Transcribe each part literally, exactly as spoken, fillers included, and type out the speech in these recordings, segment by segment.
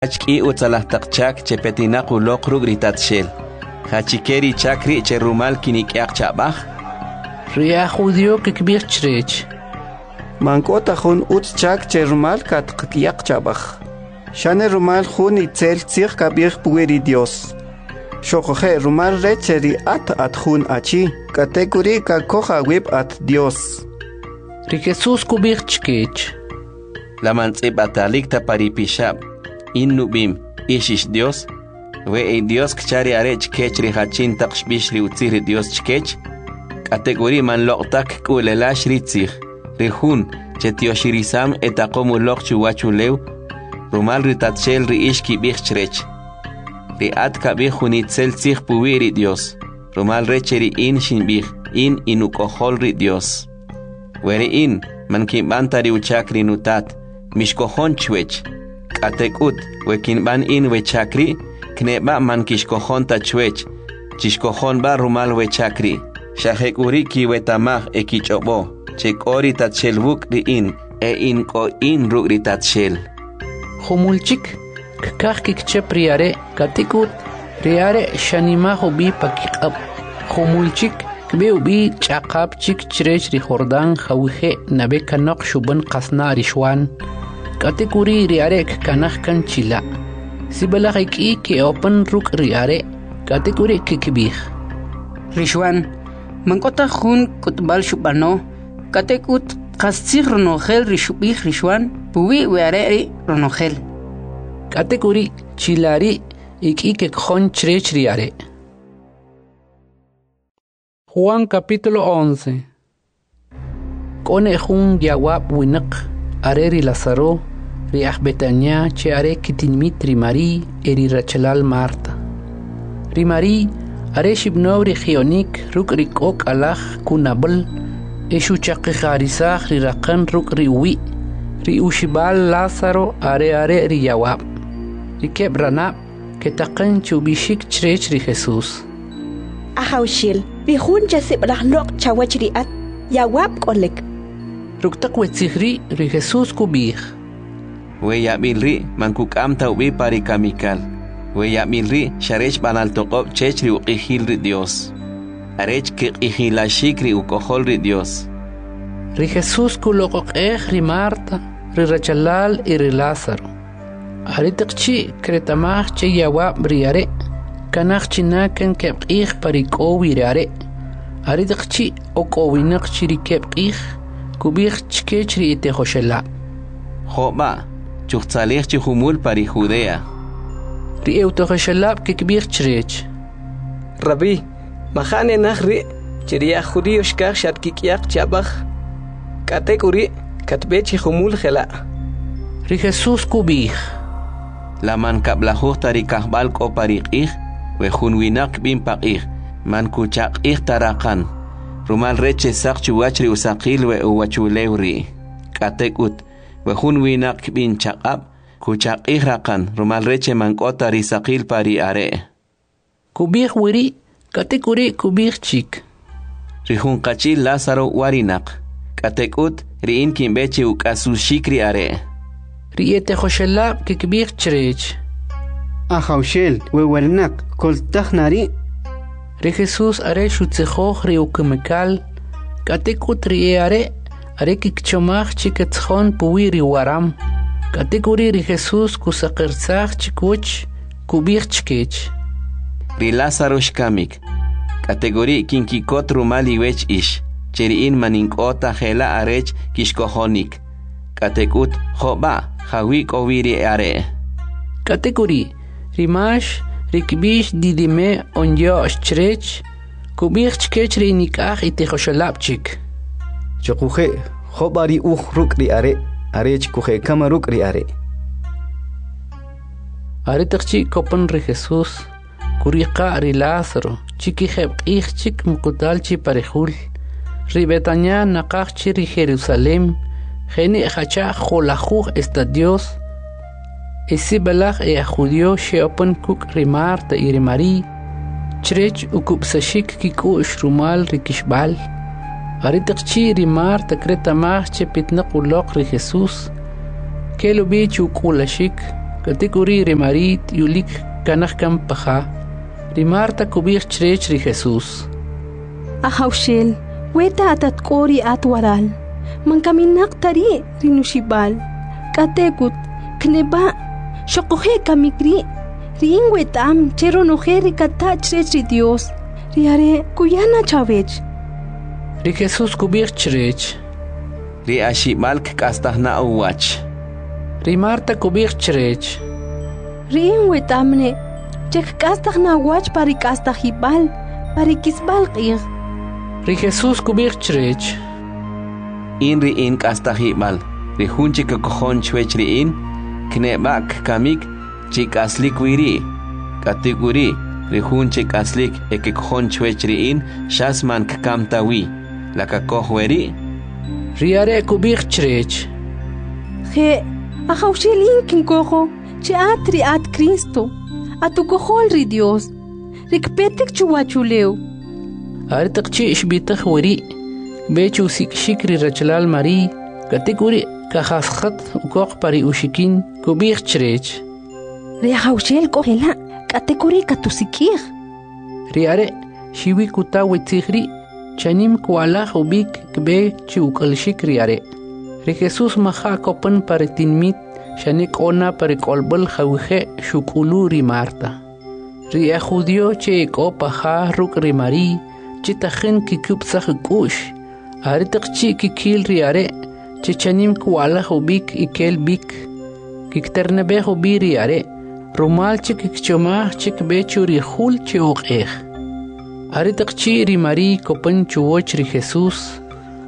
K'i utzalaj taq chak che petinaq uloq ruk' ri Tatxel. Jachike ri chak ri' che rumal kinik'yaq cha'b'aj? Ri e'ajjudi'o kkib'ij chrech: Man k'o ta jun utz chak che rumal katqak'yaq cha'b'aj, xane rumal jun itzel tzij kab'ij puwi' ri Dyos. Xoquje' rumal rech che ri at at jun achi, k'atek'uri' kakoj awib' at Dyos. Ri Jesus kub'ij chkech: La man tz'ib'atalik ta pa ri Pixab', in nub'im, ix ix dyos? We edyos kcha ri are' chkech ri jachin taq xb'ix ri utzij ri Dyos chkech? K'atek'uri' man loq' taj kk'u'lelax ri tzij, ri jun che tyoxirisam e taqom uloq chuwachulew rumal ri Tatxel ri ix kib'ij chrech: Ri at kab'ij jun itzel tzij puwi' ri Dyos, rumal rech che ri in xinb'ij, in inuk'ojol ri Dyos. We ri in man kinb'an ta ri uchak ri nutat, mixkojon chwech. K'atek'ut, we kinb'an in we chak ri', kne'b'a' man kixkojon ta chwech, chixkojon b'a' rumal we chak ri', xa jek'uri' kiweta'maj e kich'ob'o, che k'o ri Tatxel wuk' ri in e in k'o in ruk' ri Tatxel. Jumul chik, kkaj kkichap ri are', k'atek'ut, ri are' xanimaj ub'i pa kiq'ab'. Jumul chik, kb'e ub'i ch'aqap chik chrech ri Jordan jawije' nab'e kanoq xub'an qasna' ri Xwan. K'atek'uri' ri are' kkanaj kan chila'. Sib'alaj ek'i ke'opan ruk' ri are', k'atek'uri' kkib'ij: Ri Xwan, man k'o ta jun k'utb'al xub'ano, k'atek'ut qastzij ronojel ri xub'ij ri Xwan puwi' we are' ri' ronojel. K'atek'uri' chila' ri' ek'i kekojon chrech ri are'. Juan capítulo once. K'o ne jun yawab' winaq, are ri Lazaro, ri aj Betania che are kitinimit ri Mari'y e ri rachalal Marta. Ri Mari'y are xib'anow ri ji'onik ruk' ri k'ok'alaj kunab'al e xuchaqi'jarisaj ri raqan ruk' ri uwi'. Ri uxib'al Lazaro are are' ri yawab'. Ri keb' ranab' ketaqan che ub'ixik chrech ri Jesus: Ajawxel, ri jun che sib'alaj loq' chawach ri at, yawab' k'olik. Ruk' taq we tzij ri', ri Jesus kub'ij: We yab'il ri' man kuk'am ta ub'i pa ri kamikal. We yab'il ri' xa rech b'anal toq'ob' chech ri uq'ijil ri Dyos, arech kq'ijilaxik ri uk'ojol ri Dyos. Ri Jesus kuloq'oq'ej ri Marta, ri rachalal y ri Lazaro. Aretaq chi' kreta'maj che yawab' ri are', kanaj china kan keb' q'ij pa ri k'o wi ri are'. Aretaq chi' ok'owinaq chi ri keb' q'ij, kub'ij chkech ri etijoxelab': Jo' b'a', chujtzalij chi jumul pa ri Judea. Ri e'utijoxelab' kkib'ij chrech: Rabbi, maja' ne naj ri' che ri aj judío xkaj xatkik'yaq cha'b'aj, k'atek'uri' katb'e chi jumul jela'. Ri Jesus kub'ij: La man kab'lajuj ta ri kajb'al k'o pa ri q'ij? We jun winaq kb'in paq'ij, man kuchaq'ij ta raqan, rumal rech che saq chuwach ri usaqil we uwachulew ri'. K'atek'ut, we jun winaq kb'in chaq'ab', kuchaq'ij raqan, rumal rech che man k'o ta ri saqil pa ri are'. Kub'ij weri', k'atek'uri' kub'ij chik: Ri jun qachi'l Lazaro warinaq, k'atek'ut ri in kinb'e che uk'asuxik ri are'. Ri etijoxelab' kkib'ij chrech: Ajawxel, we warinaq koltaj na ri'. Ri Jesus are xutzijoj ri ukamikal, k'atek'ut ri e'are' are kkichomaj che ketzjon puwi' ri waram. K'atek'uri' ri Jesus kusaqirsaj chkiwach, kub'ij chkech: Ri Lazaro xkamik, k'atek'uri' kinkikot rumal iwech ix, che ri in man ink'o ta jela' arech kixkojonik. K'atek'ut, jo' b'a', jawi' k'o wi ri are'. K'atek'uri', ri Max, ri kb'ix Didime on Yo'x chrech, kub'ij chkech ri nik'aj itijoxelab' chik: Choqoje' jo' b'a ri uj ruk' ri are', arech kujekam ruk' ri are'. Aretaq chi' kopan ri Jesus, kuriqa' ri Lazaro, chi kijeb' q'ij chik muqutal chi pa ri jul. Ri Betania naqaj chi ri Jerusalem, jene' jacha' jo'lajuj estadios. E sib'alaj e'ajjudio xe'opan kuk' ri Marta y ri Mari'y, chrech ukub'saxik kik'u'x rumal ri kixb'al. Aretaq chi' ri Marta kreta'maj che pitnaq uloq ri Jesus, kel ub'i che uk'ulaxik, K'atek'uri' ri Mari'y t'uyulik kkanaj kan pa ja. Ri Marta kub'ij chrech ri Jesus: Ajawxel, weta at at k'o ri at waral, man kaminaq ta ri' ri nuxib'al. K'atek'ut, kne'b'a', xoquje' kamik ri', ri in weta'm che ronojel ri kata chrech ri Dyos, ri Are' kuya na chawech. Ri Jesus kub'ij chrech: Ri axib'al kk'astaj na uwach. Ri Marta kub'ij chrech: Ri in weta'm ne' che kk'astaj na uwach pa ri k'astajib'al, pa ri k'isb'al q'ij. Ri Jesus kub'ij chrech: In ri in k'astajib'al, ri jun che kkojon chwech ri in, kne'b'a' kkamik, chi k'aslik wi ri'; k'atek'uri', ri jun che k'aslik e kkojon chwech ri in, xas man kkam ta wi. La kakoj weri'? Ri are' kub'ij chrech: Je', Ajawxel, in kinkojo che at ri at Kristo, at uk'ojol ri Dyos, ri kpetik chuwachulew. Aretaq chi' xb'itaj weri', kb'e che usik'ixik ri rachalal Mari'y, k'atek'uri' kajasjat ukoq pa ri uxikin, kub'ij chrech: Ri Ajawxel k'o jela', k'atek'uri' katusik'ij. Ri are' xuwi kuta we tzij ri', chanim kwa'laj ub'ik kb'e che uk'ulaxik ri are'. Ri Jesus maja' kopan pa ri tinimit, xane k'o na pa ri k'olb'al jawije' xuk'ulu ri Marta. Ri e'ajjudi'o che ek'o pa ja ruk' ri Mari'y, che tajin kkikub'saj k'u'x, aretaq chi' kkil ri are' che chanim kwa'laj ub'ik e kel b'ik, kkiterne'b'ej ub'i ri are', rumal che kkichomaj che kb'e cho ri jul che oq'ej. Aretaq chi' ri Mari'y kopan chuwach ri Jesus,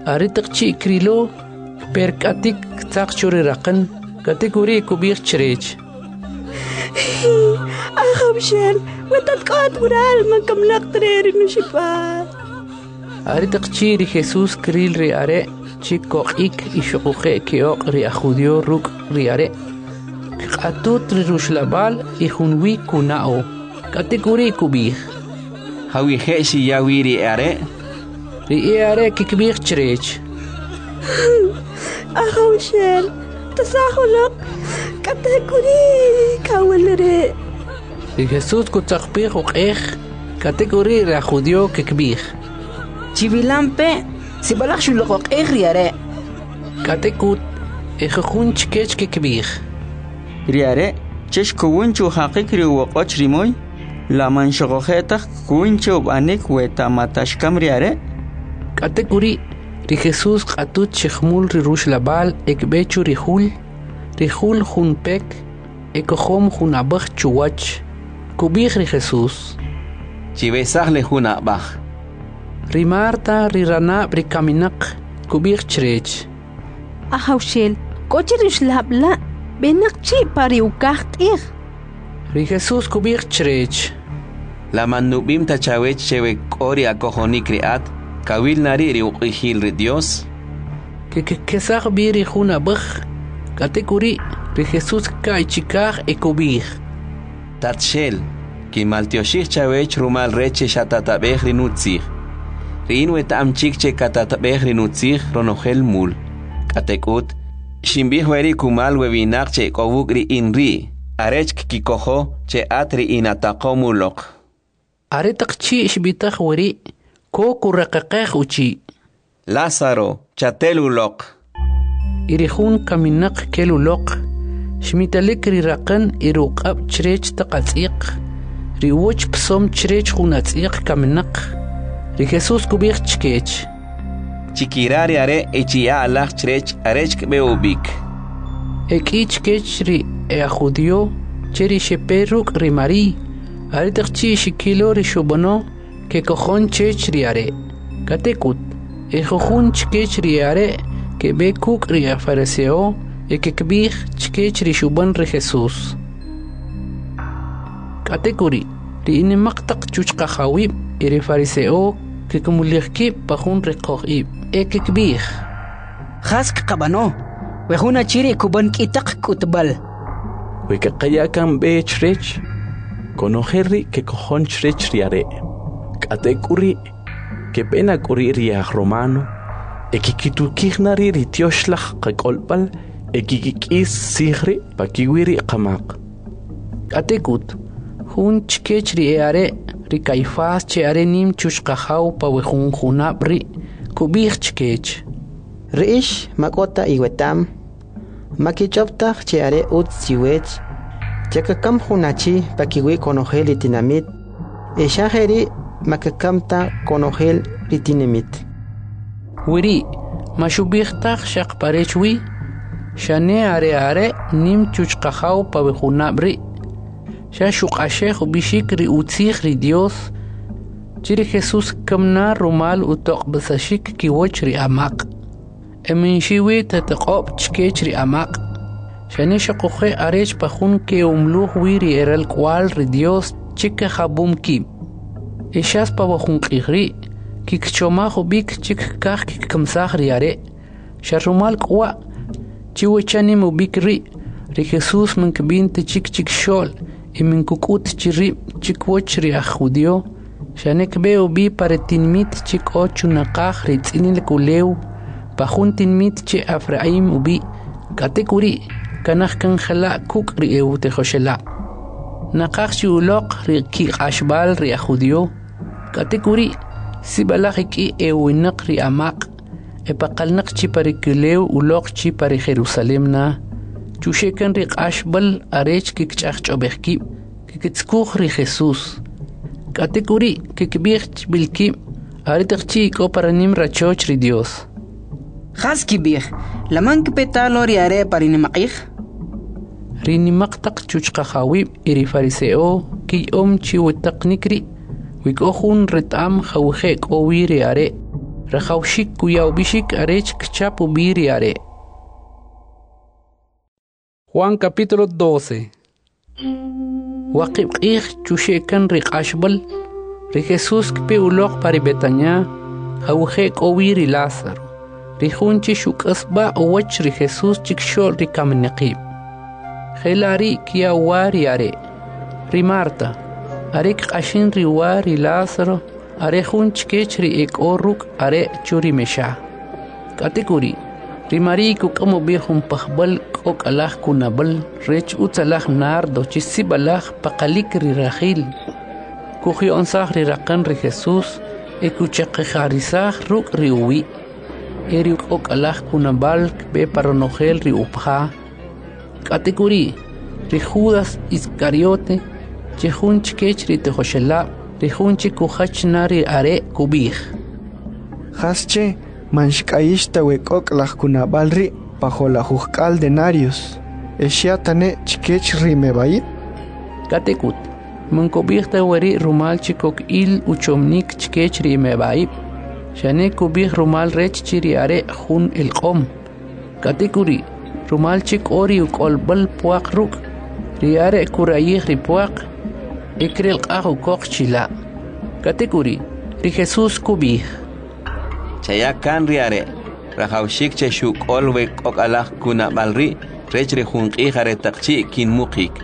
aretaq chi' krilo, kperk'atik ktzaq cho ri raqan, k'atek'uri' kub'ij chrech: Ajawxel, weta at k'o at waral, man kaminaq ta ri' ri nuxib'al. Aretaq chi' ri Jesus kril ri are' che koq'ik e xoquje' ke'oq' ri e'ajjudi'o ruk' ri are', kq'atut ri ruxlab'al e junwi kuna'o. K'atek'uri' kub'ij: Jawije' xiya wi ri are'? Ri e'are' kkib'ij chrech: Ajawxel, tasa'j uloq, k'atek'uri' kawil ri'. Ri Jesus kutzaqpij oq'ej, k'atek'uri' ri e'ajjudi'o kkib'ij: Chiwilampe', sib'alaj xuloq'oq'ej ri are'. K'atek'ut, ejujun chkech kkib'ij: Ri are' che xkowin chujaqik ri uwoq'och ri moy, la man xoquje' taj kkowin che ub'anik weta mata xkam ri are'? K'atek'uri', ri Jesus kq'atut chi jumul ri ruxlab'al e kb'e cho ri jul. Ri jul jun pek e kojom jun ab'aj chuwach. Kub'ij ri Jesus: Chiwesaj le jun ab'aj. Ri Marta, ri ranab' ri kaminaq, kub'ij chrech: Ajawxel, k'o chi ri uxlab' la', b'enaq chi' pa ri ukaj q'ij. Ri Jesus kub'ij chrech: La man nub'im ta chawech che we k'o ri akojonik ri at, kawil na ri' ri uq'ijil ri Dyos? Kkesaj b'i ri jun ab'aj, k'atek'uri' ri Jesus kka'y chikaj e kub'ij: Tatxel, kinmaltyoxij chawech rumal rech che xatatab'ej ri nutzij. Ri in weta'am chik che katatab'ej ri nutzij ronojel mul. K'atek'ut, xinb'ij weri' kumal we winaq che ek'o wuk' ri in ri', arech kkikojo che at ri inataqom uloq. Aretaq chi' xb'itaj weri', ko kuraqaqej uchi': Lázaro, chatel uloq. Y ri jun kaminaq kel uloq, xmitalik ri raqan e ri uq'ab' chrech taq atz'yaq, ri uwach psom chrech jun atz'yaq kaminaq. Ri Jesus kub'ij chkech: Chikira' ri are' e chiya'a alaj chrech arech kb'e ub'ik. Ek'i chkech ri e'ajjudi'o che ri xepe ruk' ri Mari'y, aretaq chi' xkilo ri xub'ano, kekojon chech ri are'. K'atek'ut, ejujun chkech ri e'are' keb'e kuk' ri e'ajfarise'o e kkib'ij chkech ri xub'an ri Jesus. K'atek'uri', ri enimaq taq chuchqajawib' e ri farise'o kkimulij kib' pa jun riqoj ib' e kkib'ij: Jas kqab'ano? We jun achi ri' kub'an k'i taq k'utb'al. We kaqaya kan b'e chrech, konojel ri' kekojon chrech ri are'. K'atek'uri', kepe na k'uri' ri e'ajromano e kkitukij na ri' ri tyoxlaj qak'olb'al e kkik'is tzij ri' pakiwi' ri qamaq. K'atek'ut, jun chkech ri e'are', ri Kayfas che are nim chuchqajaw pa we jun junab' ri', kub'ij chkech: Ri ix ma k'o ta iweta'm, ma kich'ob' taj che are utz chiwech che kakam jun achi pakiwi' konojel ri tinamit, e xa jeri' ma kekam ta konojel ri tinamit. Weri' ma xub'ij taj xaq pa rech wi, xane are are' nim chuchqajaw pa we junab' ri'. Xa xuq'axej ub'ixik ri utzij ri Dios, che ri Jesus kkam na rumal utoq'ob'isaxik kiwach ri amaq'. E man xiwi ta toq'ob' chkech ri amaq', xane xoquje' arech pa jun ke'umluj wi ri eralk'uwa'l ri Dios che kajab'um kib'. E xas pa we jun q'ij ri', kikchomaj ub'ik che kkaj kkikamisaj ri are'. Xa rumal k'uwa' che we chanim ub'ik ri', ri Jesus man kb'in ta chik chikxo'l e man kuk'ut chi rib' chkiwach ri aj judío, xane kb'e ub'i pa ri tinimit che k'o chunaqaj ri tz'inalik ulew, pa jun tinimit che Efraim ub'i', k'atek'uri' kanaj kan jela' kuk' ri e'utijoxelab'. Naqaj chi uloq ri kiq'axb'al ri aj judío, k'atek'uri' sib'alaj ek'i e'uwinaq ri amaq' e paqalnaq chi pa ri kulew uloq chi pa ri Jerusalem na, chuxe' kan ri q'axb'al arech kikch'ajch'ob'ej kib', kikitzukuj ri Jesus. K'atek'uri' kikib'ij chb'il kib' aretaq chi' k'o pa ri nim rachoch ri Dios. Jas kib'ij, la man kpe ta lo ri are' pa ri nimaq'ij? Ri nimaq taq chuchqajawib' e ri fariseo kiyom chi wetaqnik ri', wi k'o jun reta'm jawije' k'o wi ri are', rajawxik kuya ub'ixik arech kchap ub'i ri are'. Juan capítulo doce. Waqib' q'ij chuxe' kan ri q'axb'al, ri Jesus kpe uloq pa ri Betania, jawije' k'o wi ri Lázaro, ri jun che xuk'asb'a uwach ri Jesus chikxo'l ri kaminaqib'. Jela' ri' kya uwa ri are'. Ri Marta, are kq'axin ri uwa ri Lázaro, are jun chkech ri ek'o ruk' are' chu ri mexa. K'atek'uri', ri María kuk'am ub'i jun pajb'al k'ok'alaj kunab'al rech utzalaj nardo che sib'alaj paqalik ri rajil. Kujyo'nsaj ri raqan ri Jesus e kuchaqi'jarisaj ruk' ri uwi'. E ri k'ok'alaj kunab'al kb'e pa ronojel ri upaja. K'atek'uri', ri Judas Iscariote, che jun chkech ri tijoxelab', ri jun che kujach na ri are' kub'ij: Jasche man xk'ayix ta we k'ok'laj kunab'al ri' pa jo'lajujk'al denarios, e xya tane chkech ri meb'ayib'? K'atek'ut, man kub'ij ta weri' rumal che kok il uchomnik chkech ri meb'ayib', xane kub'ij rumal rech che ri are' jun elq'om. K'atek'uri', rumal che k'o ri uk'olb'al pwaq ruk', ri are' kurayij ri pwaq e krelq'aj ukoq chila'. K'atek'uri', ri Jesus kub'ij: Chaya kan ri are', rajawxik che xuk'ol we k'ok'alaj kunab'al ri' rech ri jun q'ij aretaq chi' kinmuqik.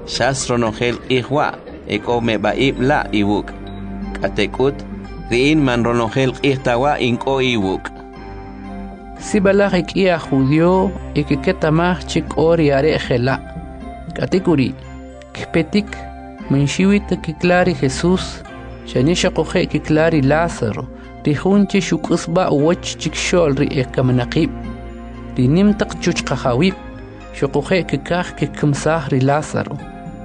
Xas ronojel q'ij wa' e k'o meb'a'ib' la' iwuk'. K'atek'ut, ri in man ronojel q'ij ta wa' in k'o iwuk'. Sib'alaj ek'i aj judío e kiketamaj che k'o ri are' jela'. K'atek'uri', kpetik, man xiwi ta kikla ri Jesus, xane xoquje' kikla ri Lázaro, ri jun che xuk'asb'a uwach chikxo'l ri ekaminaqib'. Ri nim taq chuchqajawib' xoquje' kkaj kkikamisaj ri Lázaro,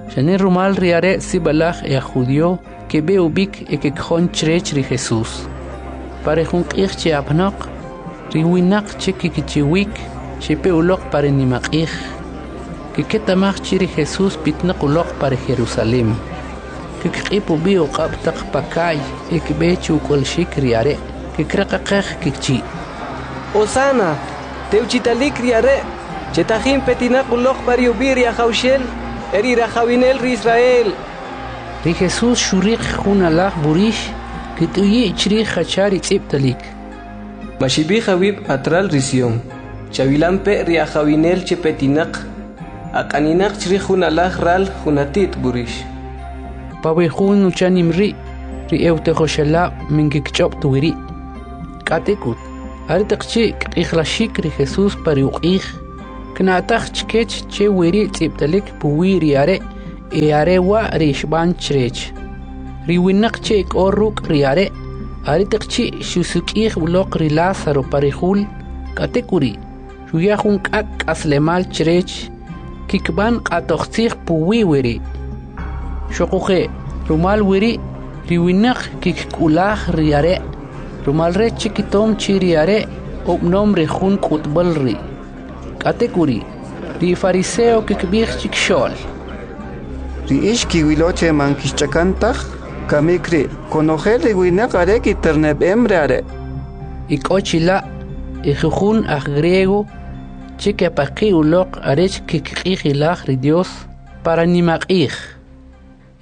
xane rumal ri are' sib'alaj e aj judío keb'e ub'ik e kekjon chrech ri Jesus. Pa ri jun q'ij che apanoq, ri winaq che kikichiwik xepe uloq pa ri nimaq'ij, kiketamaj che ri Jesus pitnaq uloq pa ri Jerusalem. Kikq'ip ub'i uq'ab' taq paka'y e kb'e che uk'ulxik ri are', kikraqaqej kichi': Hosana, tewchitalik ri are', che tajin petinaq uloq pa ri ub'i' ri Ajawxel, e ri rajawinel ri Israel. Ri Jesus xuriq jun alaj b'urix, kit'uyi' chrij jacha ri tz'ib'talik: Maxib'ij awib' atral ri Sion, chawilampe' ri ajawinel che petinaq, aq'aninaq chrij jun alaj ral jun ati't b'urix. Pa we jun uchanim ri', ri e'utijoxelab' man kikch'ob' ta weri'. K'atek'ut, aretaq chi' kq'ijlaxik ri Jesus pa ri uq'ij, kna'taj chkech che weri' tz'ib'talik puwi' ri are' E are wa' ri xb'an chrech. Ri winaq che k'o ruk' ri are', aretaq chi' xusik'ij uloq ri Lázaro pa ri jul, k'atek'uri' xuya jun k'ak' k'aslemal chrech, kikb'an q'atojtzij puwi' weri'. Xoquje', rumal weri', ri winaq kikk'ulaj ri are', rumal rech che kitom chi ri are' ub'anom ri jun k'utb'al ri'. K'atek'uri', ri fariseo kikb'ij chikxo'l: Ri ix kiwilo che man kixch'akan taj, kamik ri' konojel ri winaq are kiterneb'em ri are'. Ik'o chila' ejujun aj griego che kepaqi' uloq arech kkiq'ijilaj ri Dios para nimaq'ij.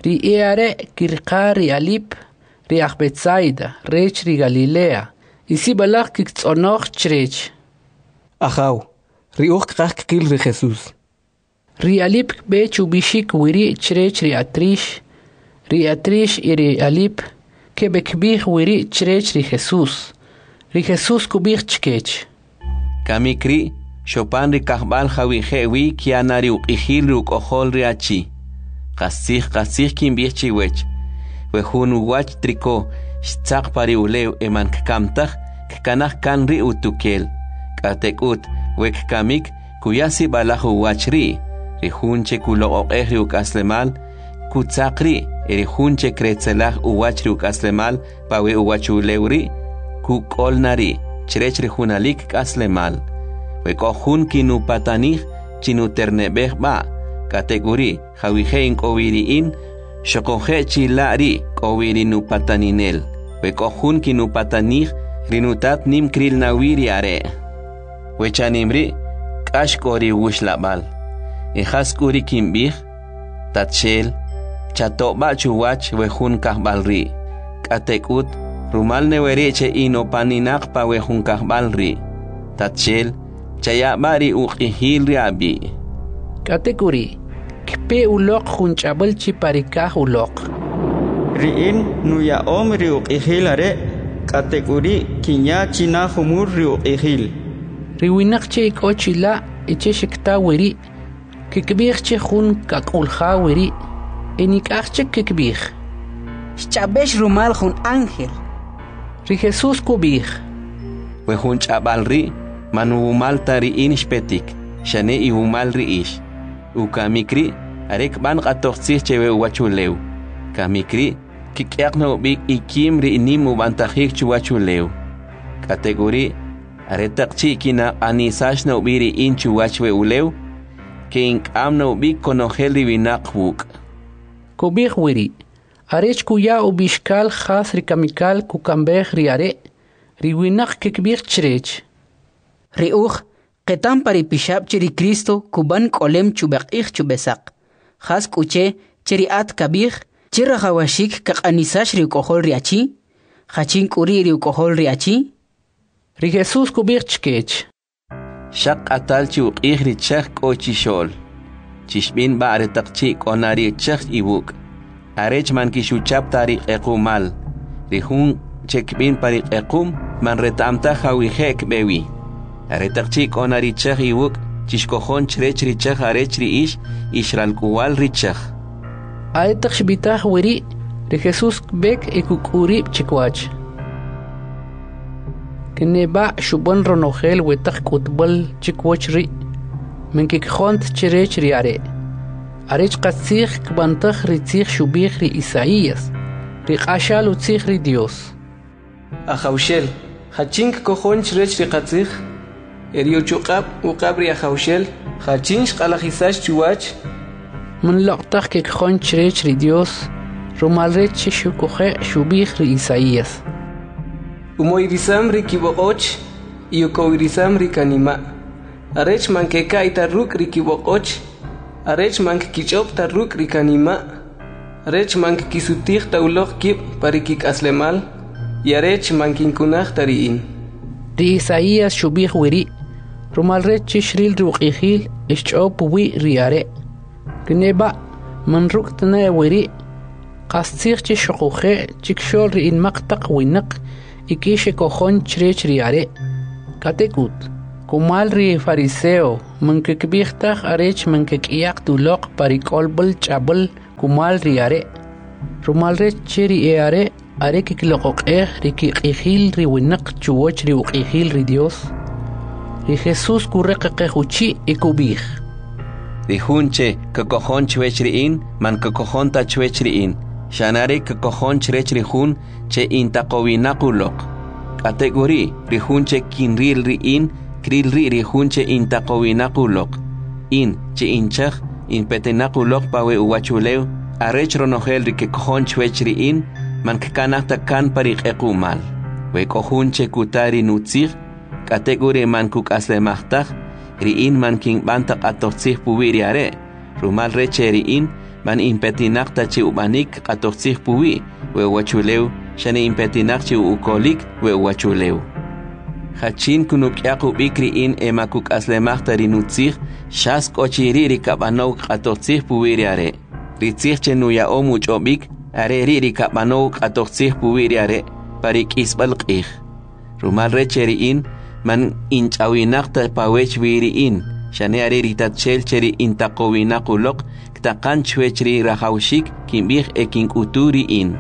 Ri e'are' kiriqa ri Alip, ri aj Betsaida rech ri Galilea, y sib'alaj kiktz'onoj chrech: Ajaw, ri uj kqaj kqil ri Jesús. Ri Alip kb'e chub'ixik weri' chrech ri Atrix. Ri Atrix y ri Alip keb'ekb'ij weri' chrech ri Jesús. Ri Jesús kub'ij chkech: Kamik ri' xopan ri kajb'al jawije' wi kya na ri uq'ijil ri uk'ojol ri achi. Qastzij, qastzij kinb'ij chiwech, we jun uwach triko xtzaq pa ri ulew e man kkam taj, kkanaj kan ri utukel. K'atek'ut, we kkamik, kuya sib'alaj uwach ri'. Ri jun che kuloq'oq'ej ri uk'aslemal, kutzaq ri', e ri jun che kretzelaj uwach ri uk'aslemal pa we uwachulew ri', kuk'ol na ri' chrech ri junalik k'aslemal. We k'o jun kinupatanij, chinuterneb'ej b'a', k'atek'uri' jawije' in k'o wi ri in, xoquje' chila' ri' k'o wi ri nupataninel. We k'o jun kinupatanij, ri nutat nim kril na wi ri are'. We chanim ri' k'ax k'o ri wuxlab'al. E jas k'u ri kinb'ij? Tatxel, chato'b'a chuwach we jun kajb'al ri'. K'atek'ut, rumal ne weri' che in opaninaq pa we jun kajb'al ri'. Tatxel, chayab'a ri uq'ijil ri ab'i'. K'atek'uri', kpe uloq jun ch'ab'al chi pa ri kaj uloq. Ri in nuya'om ri uq'ijil are', k'atek'uri' kinya china jumul ri uq'ijil. Ri winaq che k'o chila' e che xikta weri', kikb'ij che jun kak'ulja weri', e nik'aj chik kikb'ij: Xch'ab'ex rumal jun ángel. Ri Jesús kub'ij: We jun ch'ab'al ri' man wumal ta ri in xpetik, xane iwumal ri ix. Ukamik ri' are kb'an q'atojtzij che we uwachulew. Kamik ri' kik'yaq na ub'ik ikim ri nim ub'antajik chuwachulew. K'atek'uri', aretaq chi' kinaq'anisax na ub'i ri in chuwach we ulew, ke'ink'am na ub'ik konojel ri winaq wuk'. Kub'ij weri', arech kuya ub'ixkal jas ri kamikal kukamb'ej ri are', ri winaq kikb'ij chrech: Ri uj qetam pa ri pixab' che ri Cristo kub'an k'olem chub'eq'ij chub'esaq. Jas k'u che che ri at kab'ij che rajawaxik kaq'anisax ri uk'ojol ri achi? Jachin k'u ri' ri uk'ojol ri achi? Ri Jesús kub'ij chkech: Xaq q'atal chi uq'ij ri chaj k'o chixo'l. Chixb'in b'a aretaq chi' k'o na ri chaj iwuk', arech man kixuchap ta ri q'equmal. Ri jun che kb'in pa ri q'equm man reta'm taj jawije' kb'e wi. Aretaq chi' k'o na ri chaj iwuk', chixkojon chrech ri chaj arech ri ix ix ralk'uwal ri chaj. Aretaq xb'itaj weri', ri Jesús kb'ek e kuk'u rib' chikwach. Kneb'a' xub'an ronojel we taq k'utb'al chikwach ri', man kikjont chrech ri are'. Arech qastzij kb'antaj ri tzij xub'ij ri Isaías, ri q'axal utzij ri Dios. Ajawxel, jachin kkojon chrech ri qatzij? E ri uchuq'ab' uq'ab' ri Ajawxel, jachin xq'alajisax chuwach? Man loq' taj kikjon chrech ri Dios, rumal rech che xuquje' xub'ij ri Isaías: Umoyrisam ri kib'oq'och y ukowirisam ri kanima', arech man keka'y ta ruk' ri kib'oq'och, arech man kkich'ob' ta ruk' ri kanima', arech man kkisutij ta uloq kib' pa ri kik'aslemal, y arech man kinkunaj ta ri in. Ri Isaías xub'ij weri', rumal rech che xril ri uq'ijil e xch'ob' puwi' ri are'. Kneb'a' man ruk' ta ne weri', qastzij che xuquje' chikxo'l ri inmaq taq winaq ik'i xekojon chrech ri are'. K'atek'ut, Kumal ri fariseo man kkib'ij taj arech man kek'yaq ta uloq pa ri k'olb'al ch'ab'al kumal ri are', rumal rech che ri e'are' are kkiloq'oq'ej ri kiq'ijil ri winaq chuwach ri uq'ijil ri Dyos. Ri Jesus kuraqaqej uchi' e kub'ij: Ri jun che kakojon chwech ri in, man kakojon ta chwech ri in, xane are kakojon chrech ri jun che intaqowinaq uloq. K'atek'uri', ri jun che kinril ri in, kril ri' ri jun che intaqowinaq uloq. In, che inchaj, inpetinaq uloq pa we uwachulew, arech ronojel ri kekojon chwech ri in, man kkanaj ta kan pa ri q'equ'mal. We k'o jun che kuta ri nutzij, k'atek'uri' man kuk'aslemaj taj, ri in man kinb'an ta q'atojtzij puwi' ri are', rumal rech che ri in man inpetinaq ta che ub'anik q'atojtzij puwi' we uwachulew, xane inpetinaq che ukolik we uwachulew. Jachin kunuk'yaq ub'ik ri in e ma kuk'aslemaj ta ri nutzij, xas k'o chi ri' ri kab'anow q'atojtzij puwi' ri are'. Ri tzij che nuya'om uch'ob'ik, are ri' ri kab'anow q'atojtzij puwi' ri are' pa ri k'isb'al q'ij. Rumal rech che ri in man inch'awinaq ta pawech wi ri in, xane are ri Tatxel che ri intaqowinaq uloq ktaqan chwech ri rajawxik kinb'ij e kink'utu ri in.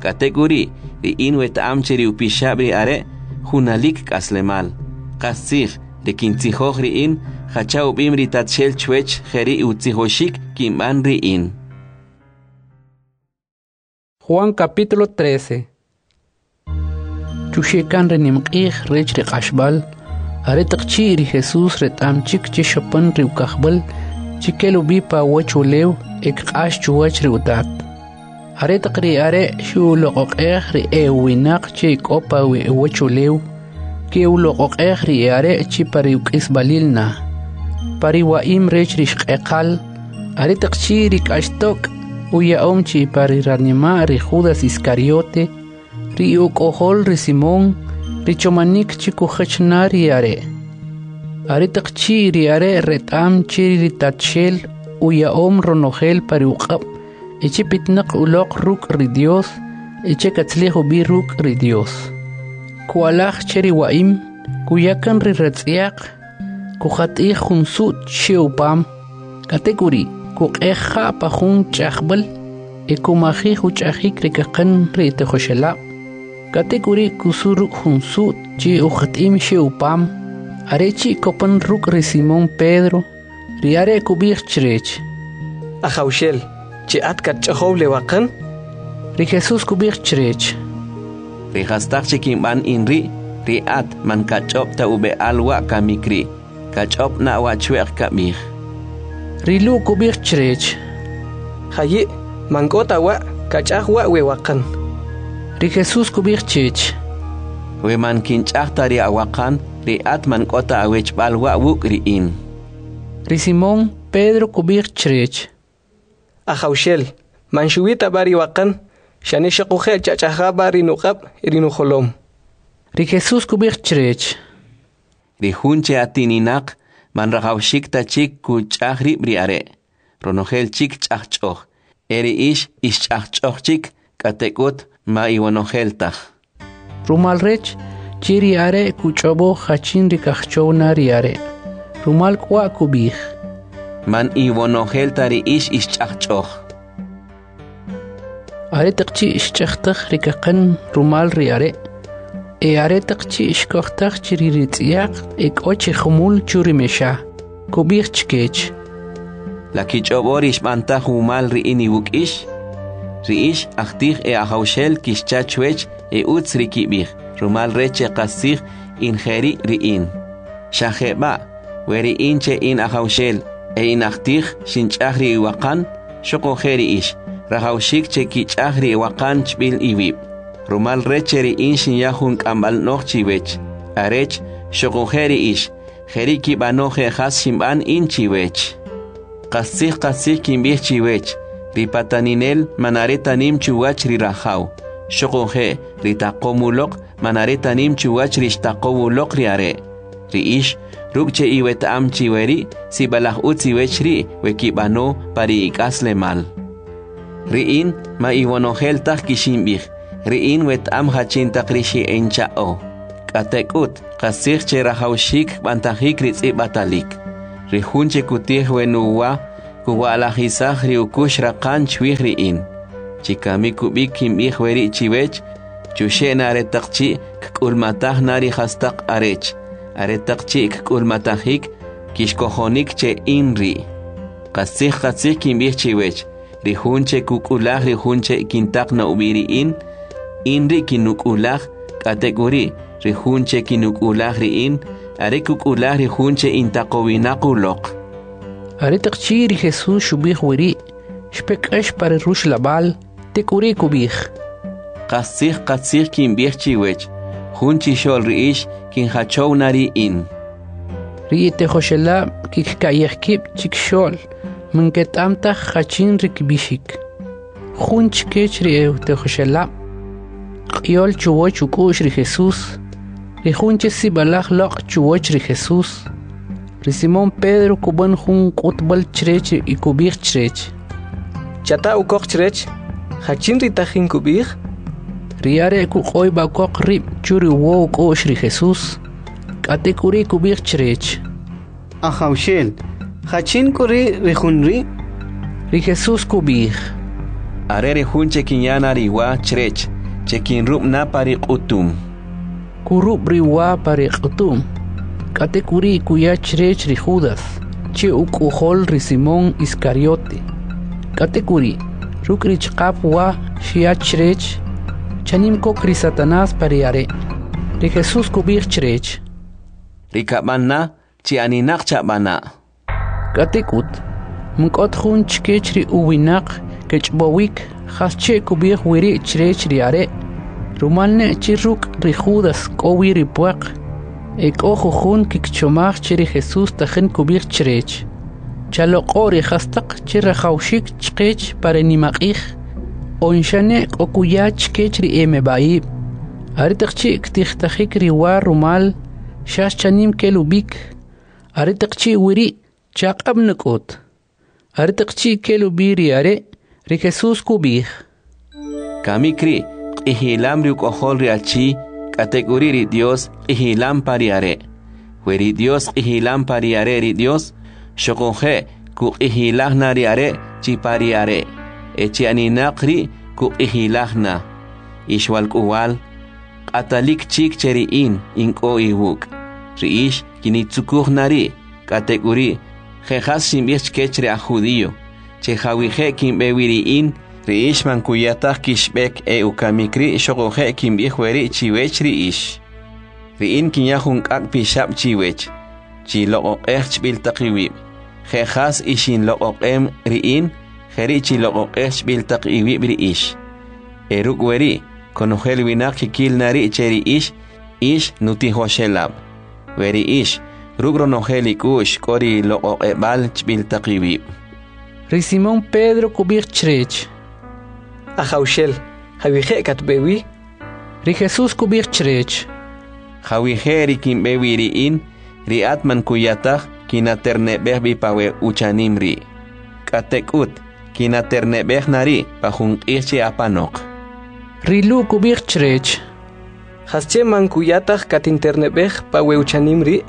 K'atek'uri', ri in weta'am che ri upixab' ri are' junalik k'aslemal. Qastzij, ri kintzijoj ri in, jacha ub'im ri Tatxel chwech jeri' utzijoxik kinb'an ri in. Juan capítulo trece. Chuxekan ri nimq'ij rech ri q'axb'al, aretaq chi' ri Jesus reta'm chik che xopan ri ukajb'al, chi kel ub'i pa uwachulew e kq'ax chuwach ri utat. Aretaq ri are' xuloq'oq'ej ri e'uwinaq che k'o pa we uwachulew, ke'uloq'oq'ej ri e'are' chi pa ri uk'isb'alil na. Pa ri wa'im rech ri xq'eqal, aretaq chi' ri k'axtok' uya'om chi pa ri ranima' ri Judas Iscariote, ri uk'ojol ri Simón, ri chomanik chi kujach na ri are'. Aretaq chi' ri are' reta'm che ri Tatxel uya'om ronojel pa ri uq'ab', e che pitnaq uloq ruk' ri Dios, e che katzlij ub'i ruk' ri Dios. Ku'alaj che ri wa'im, kuyakan ri ratz'yaq, kujat'ij jun su't che upam, k'atek'uri' kuq'ej ja' pa jun ch'ajb'al, e kumajij uch'ajik ri kaqan ri tijoxelab'. K'atek'uri' kusu ruk' jun su't che ujat'im xe upam, are chi' kopan ruk' ri Simón Pedro, ri are' kub'ij chrech: Ajawxel, che at katch'ajow le waqan? Ri Jesus kub'ij chrech: Ri jastaq che kinb'an in ri', ri at man kach'ob' ta ub'e'al wa' kamik ri', kach'ob' na wa' chwe'q kab'ij. Ri Lu' kub'ij chrech: Jayi', man k'o ta wa' kach'aj wa' we waqan. Ri Jesus kub'ij chech: We man kinch'aj ta ri awaqan, ri at man k'o ta awechb'al wa' wuk' ri in. Ri Simón Pedro kub'ij chrech: Ajawxel, man xuwi ta b'a ri waqan, xane xuquje' chach'aja b'a ri nuq'ab' e ri nujolom. Ri Jesus kub'ij chrech: Ri jun che atininaq man rajawxik ta chik kuch'aj rib' ri are', ronojel chik ch'ajch'oj, e ri ix ix ch'ajch'oj chik, k'atek'ut ma iwonojel taj. Rumal rech che ri are' kuch'ob'o jachin ri kajchow na ri are', rumal k'wa' kub'ij: Man iwonojel ta ri ix ix ch'ajch'oj. Aretaq chi' xch'ajtaj ri kaqan rumal ri are', e aretaq chi' xkojtaj chi ri ritz'yaq e k'o chi jumul chu ri mexa, kub'ij chkech: La kich'ob'o ri xb'antaj wumal ri in iwuk' ix? Ri ix ajtij e ajawxel kixcha chwech e utz ri kib'ij, rumal rech che qastzij in jeri' ri in. Xa jeb'a', we ri in che in ajawxel e in ajtij xinch'aj ri iwaqan, xuquje' ri ix, rajawxik che kich'aj ri iwaqan chb'il iwib'. Rumal rech che ri in xinya jun k'amb'al no'j chiwech, arech xuquje' ri ix, jeri' kib'ano je' jas xinb'an in chiwech. Qastzij qastzij kinb'ij chiwech, ri pataninel man are ta nim chuwach ri rajaw, xuquje' ri taqom uloq man are ta nim chuwach ri xtaqow uloq ri are'. Ri ix, ruk' che iweta'am chi weri', sib'alaj utz iwech ri' we kib'ano pa ri ik'aslemal. Ri in ma iwonojel taj kixinb'ij, ri in weta'am jachin taq ri xi'encha'o. K'atek'ut, qastzij che rajawaxik kb'antajik ri tz'ib'atalik. Ri jun che kutij we nuwa, kuwa'lajisaj ri ukux raqan chwij ri in. Chi kamik ub'ik kinb'ij weri' chiwech, chuxe' na aretaq chi' kk'ulmataj na ri jastaq arech, aretaq chi' kk'ulmatajik, kixkojonik che in ri'. Qastzij qastzij kinb'ij chiwech, ri jun che kuk'ulaj ri jun che kintaq na ub'i ri in, in ri' kinuk'ulaj, k'atek'uri', ri jun che kinuk'ulaj ri in, are kuk'ulaj ri jun che intaqowinaq uloq. Aretaq chi' ri Jesus xub'ij weri', xpe k'ax pa ri ruxlab'al, tek'uri' kub'ij: Qastzij qastzij kinb'ij chiwech, jun chixo'l ri ix kinjachow na ri in. Ri etijoxelab' kikka'yej kib' chikxo'l, man keta'm taj jachin ri kb'ixik. Jun chkech ri etijoxelab', q'iyol chuwach uk'u'x ri Jesus, ri jun che sib'alaj loq' chuwach ri Jesus. Ri Simón Pedro kub'an jun k'utb'al chrech y kub'ij chrech: Chata ukoq chrech, jachin ri tajin kub'ij? Ri are' kuq'oyb'a koq rib' chu ri uwo uk'u'x ri Jesus, k'atek'uri' kub'ij chrech: Ajawxel, jachin k'u ri' ri jun ri'? Ri Jesus kub'ij: Are ri jun che kinya na ri wa chrech, che kinrub' na pa ri q'utum. Kurub' ri wa pa ri q'utum, k'atek'uri' kuya chrech ri Judas, che uk'ojol ri Simón Iscariote. K'atek'uri', ruk' ri ch'aqap wa xya chrech, chanim kok ri Satanás pa ri are'. Ri Jesus kub'ij chrech: Ri kab'an na, chi aninaq chab'ana'. K'atek'ut, man k'o ta jun chkech ri uwinaq kech'ob'owik jasche kub'ij weri' chrech ri are', rumal ne che ruk' ri Judas k'o wi ri pwaq. E k'o jujun kkichomaj che ri Jesus tajin kub'ij chrech: Chaloq'o' ri jastaq che rajawaxik chqech pa ri nimaq'ij, on xane k'o kuya chkech ri emeb'a'ib'. Aretaq chi' ktijtajik ri wa rumal, xas chanim kel ub'ik. Aretaq chi' weri' chaq'ab' nak'ut. Aretaq chi' kel ub'i ri are', ri Jesus kub'ij: Kamik ri' q'ijilam ri uk'ojol ri achi, k'atek'uri' ri Dios q'ijilam pa ri are'. We ri Dios q'ijilam pa ri are' ri Dios, xuquje' kuq'ijilaj na ri are' chi pa ri are', e chi aninaq ri' kuq'ijilaj na. Ix walk'uwal, q'atalik chik che ri in, in k'o iwuk'. Ri ix kinitzukuj na ri', k'atek'uri', je' jas xinb'ij chkech ri aj judío, che jawije' kinb'e wi ri in, ri ix man kuya taj kixb'ek e ukamik ri' xuquje' kinb'ij weri' chiwech ri ix. Ri in kinya jun k'ak' pixab' chiwech, chiloq'oq'ej chb'il taq iwib'. Je' jas ixinloq'oq'em ri in, jeri' chiloq'oq'ej chb'il taq iwib' ri ix. E ruk' weri', konojel winaq kikil na ri' che ri ix, ix nutijoxelab'. We ri ix, ruk' ronojel ik'u'x k'o ri loq'oq'eb'al chb'il taq iwib'. Ri Simón Pedro kub'ij chrech: Ajawxel, jawije' katb'e wi? Ri Jesus kub'ij chrech: Jawije' ri kinb'e wi ri in, ri at man kuya taj kinaterneb'ej b'i pa we uchanim ri'. K'atek'ut, kinaterneb'ej na ri' pa jun q'ij chi apanoq. Ri Lu' kub'ij chrech: Jasche man kuya taj katinterneb'ej pa we uchanim ri'?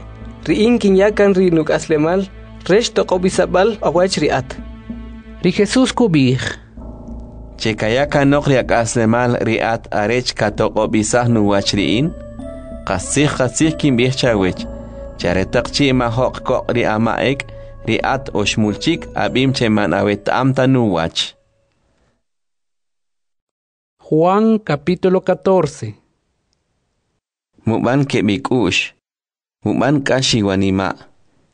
Ri in kinya kan ri nuk'aslemal rech toq'ob'isab'al awach ri at. Ri Jesus kub'ij: Che kaya kanoq ri ak'aslemal ri at arech katoq'ob'isaj nuwach ri in? Qastzij qastzij kinb'ij chawech, che aretaq chi' majo'q koq' ri ama' ek', ri at oxmul chik ab'im che man aweta'm ta nuwach. Juan capítulo catorce. Mub'an keb' ik'u'x, mub'an k'ax iwanima',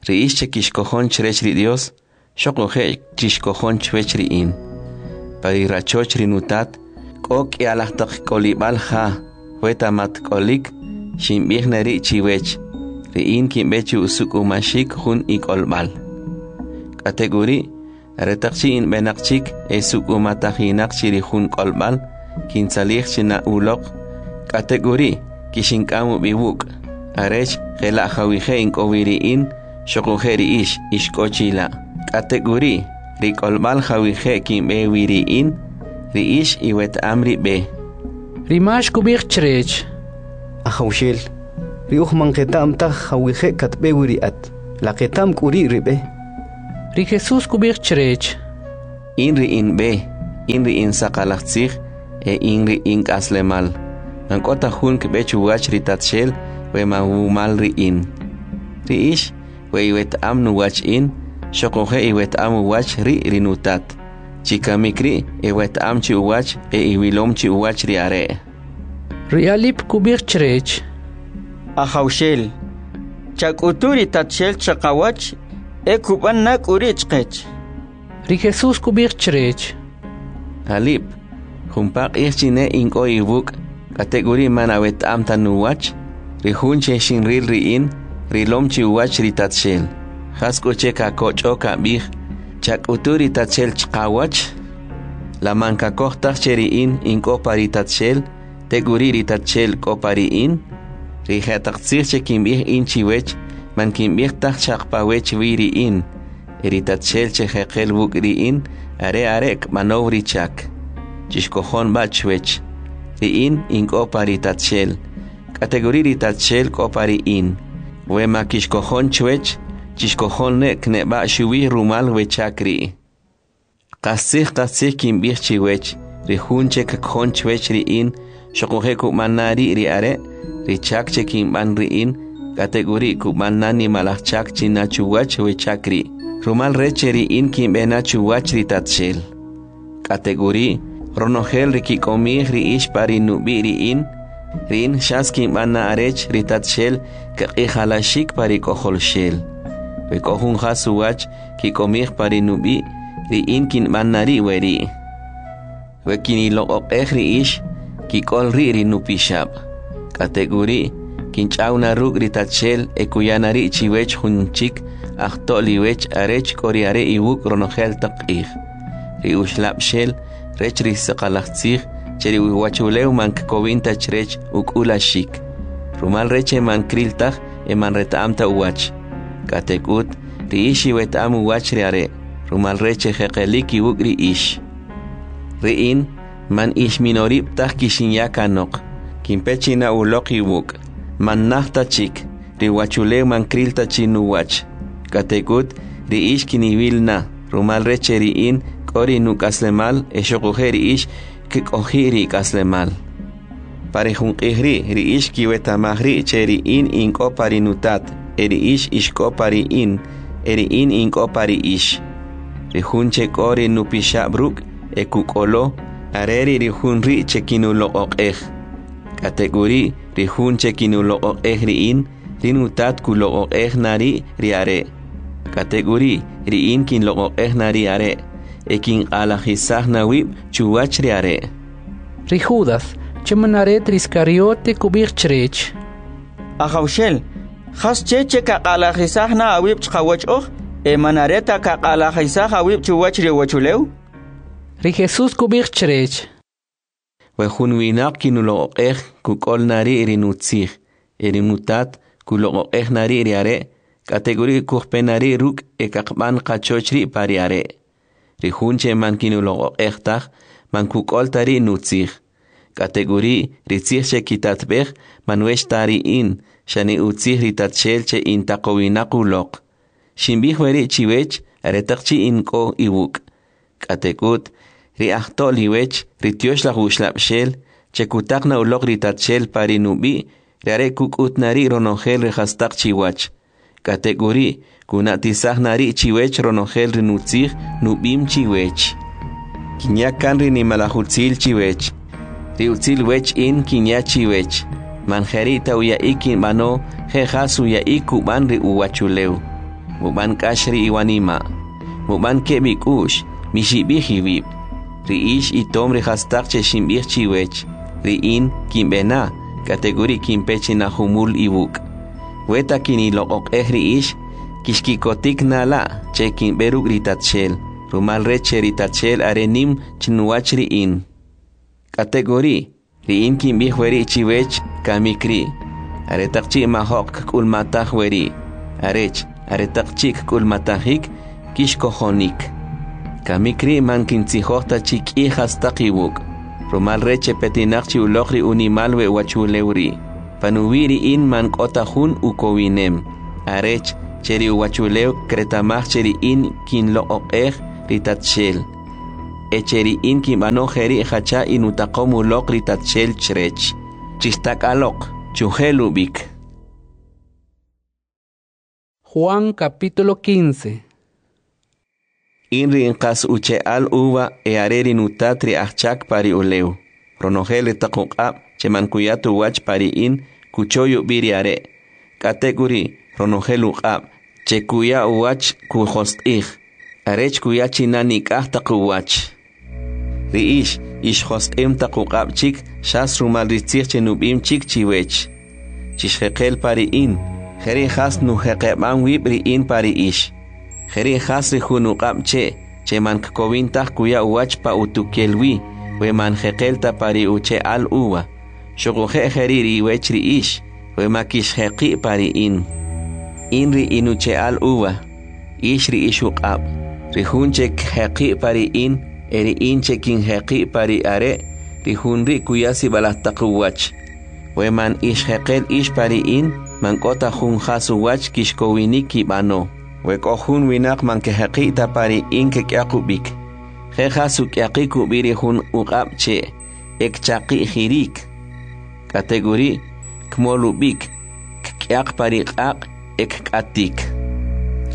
ri ix che kixkojon chrech ri Dios, xuquje' chixkojon chwech ri in. Pa ri rachoch ri nutat, k'o k'i'alaj taq k'olib'al ja, weta mat k'olik, xinb'ij na ri' chiwech, ri in kinb'e chi usuk'umaxik jun ik'olb'al. K'atek'uri', aretaq chi' in b'enaq chik e suk'umatajinaq chi ri jun k'olb'al, kintzalij chi na uloq, k'atek'uri' kixink'am ub'i wuk', arech jela' jawije' in k'o wi ri in, xuquje' ri ix, ix k'o chila'. K'atek'uri', ri k'olb'al jawije' kinb'e wi ri in, ri ix iweta'am ri b'e. Ri Max kub'ij chrech: Ajawxel, Ri uj man qeta'm taj jawije' katb'e wi ri at. La qeta'm k'u ri' ri b'e? Ri Jesus kub'ij chrech: In ri in b'e, in ri in saqalaj tzij e in ri in k'aslemal. Man k'o ta jun kb'e chuwach ri Tatxel we man wumal ri in. Ri ix, we iweta'am nuwach in, xoquje' iweta'am uwach ri' ri nutat. Chi kamik ri' iweta'am chi uwach e iwilom chi uwach ri are'. Ri Alip kub'ij chrech: Ajawxel, chak'utu ri Tatxel chaqawach e kub'an na k'u ri' chqech. Ri Jesus kub'ij chrech: Alip, jumpa q'ij chi ne in k'o iwuk', k'atek'uri' man aweta'am ta nuwach? Ri jun che xinril ri in, rilom chi uwach ri Tatxel. Jas k'u che kakoch'o kab'ij, chak'utu ri Tatxel chqawach? La man kakoj taj che ri in in k'o pa ri Tatxel, tek'uri' ri Tatxel k'o pa ri in? Ri jetaq tzij che kinb'ij in chiwech, man kinb'ij taj xaq pa wech wi ri in. E ri Tatxel che jeqel wuk' ri in, are are' kb'anow ri chak. Chixkojon b'a chwech. Ri in in k'o pa ri Tatxel, k'atek'uri' ri Tatxel k'o pa ri in. We ma kixkojon chwech, chixkojon ne kneb'a xuwi rumal we chak ri'. Qastzij qastzij kinb'ij chiwech, ri jun che kkojon chwech ri in, xoquje' kub'an na ri' ri are', ri chak che kinb'an ri in, k'atek'uri' kub'an na nimalaj chak china chuwach we chak ri', rumal rech che ri in kinb'e na chuwach ri Tatxel. K'atek'uri', ronojel ri kik'omij ri ix pa ri nub'i' ri in, ri in xas kinb'an na arech ri Tatxel kaq'ijalaxik pa ri K'ojolxel. We k'o jun jas uwach kik'omij pa ri nub'i', ri in kinb'an na ri' weri'. We kiniloq'oq'ej ri ix, kik'ol ri' ri nupixab'. K'atek'uri', kinch'aw na ruk' ri Tatxel e kuya na ri' chiwech jun chik ajto'l iwech arech k'o ri are' iwuk' ronojel taq q'ij. Ri uxlab'xel rech ri saqalaj tzij che ri uwachulew man kkowin ta chrech uk'ulaxik, rumal rech che man kril taj e man reta'am ta uwach. K'atek'ut, ri ix iweta'am uwach ri are', rumal rech che jeqelik iwuk' ri ix. Ri in, man ix minorib' taj kixinya kanoq, kinpe china uloq iwuk', man naj ta chik, ri uwachulew man kril ta chi nuwach. K'atek'ut, ri ix kiniwil na, rumal rech che ri in k'o ri nuk'aslemal e xoquje' ri ix kk'oji' ri ik'aslemal. Pa ri jun q'ij ri', ri ix kiweta'maj ri' che ri in in k'o pa ri nutat, e ri ix ix k'o pa ri in, e ri in in k'o pa ri ix. Ri jun che k'o ri nupixab' ruk' e kuk'olo, are ri' ri jun ri' che kinuloq'oq'ej. K'atek'uri', ri jun che kinuloq'oq'ej ri in, ri nutat kuloq'oq'ej na ri' ri are'. K'atek'uri', ri in kinloq'oq'ej na ri are', e kinq'alajisaj na wib' chuwach ri are'. Ri Judas, che man are ta ri Iskariote, kub'ij chrech: Ajawxel, jas che che kaq'alajisaj na awib' chqawach oj, e man are ta kaq'alajisaj awib' chuwach ri uwachulew? Ri Jesus kub'ij chrech: We jun winaq kinuloq'oq'ej, kuk'ol na ri' ri nutzij, e ri nutat kuloq'oq'ej na ri' ri are', k'atek'uri' kujpe na ri' ruk' e kaqb'an qachoch ri' pa ri are'. Ri jun che man kinuloq'oq'ej taj, man kuk'ol ta ri' nutzij. K'atek'uri', ri tzij che kitatb'ej man wech ta ri in, xane utzij ri Tatxel che in taqowinaq uloq. Xinb'ij weri' chiwech aretaq chi' in k'o iwuk'. K'atek'ut, ri ajto'l iwech, ri Tyoxlaj Uxlab'xel, che kutaq na uloq ri Tatxel pa ri nub'i', ri are' kuk'ut na ri' ronojel ri jastaq chiwach. K'atek'uri', kuna'tisaj na ri' chiwech ronojel ri nutzij nub'im chiwech. Kinya kan ri nimalaj utzil chiwech. Ri utzil wech in kinya chiwech. Man jeri' ta uya'ik kinb'ano, je jas uya'ik kub'an ri uwachulew. Mub'an k'ax ri iwanima'. Mub'an keb' ik'u'x, mixib'ij iwib'. Ri ix itom ri jastaq che xinb'ij chiwech. Ri in kinb'e na, k'atek'uri' kinpe china jumul iwuk'. Weta kiniloq'oq'ej ri ix, kixkikotik na la' che kinb'e ruk' ri Tatxel, rumal rech che ri Tatxel are nim chinuwach ri in. K'atek'uri', ri in kinb'ij weri' chiwech kamik ri', aretaq chi' majo'q kk'ulmataj weri', arech, aretaq chi' kk'ulmatajik, kixkojonik. Kamik ri' man kintzijoj ta chi k'i jastaq iwuk', rumal rech che petinaq chi uloq ri unimal we uwachulew ri'. Panuwi' ri in man k'o ta jun ukowinem, arech che ri uwachulew kreta'maj che ri in kinloq'oq'ej ri Tatxel, e che ri in kinb'ano jeri' jacha inutaqom uloq ri Tatxel chrech. Chixtak'aloq, chujel ub'ik. Juan capítulo quince. In ri in qas uche'al uva e are ri nutat ri ajchak pa ri ulew. Ronojel ri taq uq'ab' che man kuya ta uwach pa ri in, kuchoy ub'i ri are'. K'atek'uri', ronojel uq'ab' che kuya uwach kujosq'ij, arech kuya chi na nik'aj taq uwach. Ri ix, ix josq'im taq uq'ab' chik xas rumal ri tzij che nub'im chik chiwech. Chixjeqel pa ri in, jeri' jas nujeqeb'am wib' ri in pa ri ix. Jeri' jas ri jun uq'ab' che, che man kkowin taj kuya uwach pa utukel wi, we man jeqel ta pa ri uche'al uva. Xuquje' jeri' ri iwech ri ix, we ma kixjeqi' pa ri in. In ri inuche'al uva, ix ri ix uq'ab'. Ri jun che kjeqi' pa ri in, e ri in che kinjeqi' pa ri are', ri jun ri' kuya sib'alaj taq uwach. We man ix jeqel ix pa ri in, man k'o ta jun jas uwach kixkowinik kib'ano. We k'o jun winaq man kejeqi' ta pa ri in kek'yaq ub'ik. Je jas uk'yaqik ub'i ri jun uq'ab' che', e kchaqi'jirik. K'atek'uri', kmol ub'ik, kk'yaq pa ri q'aq' e kk'atik.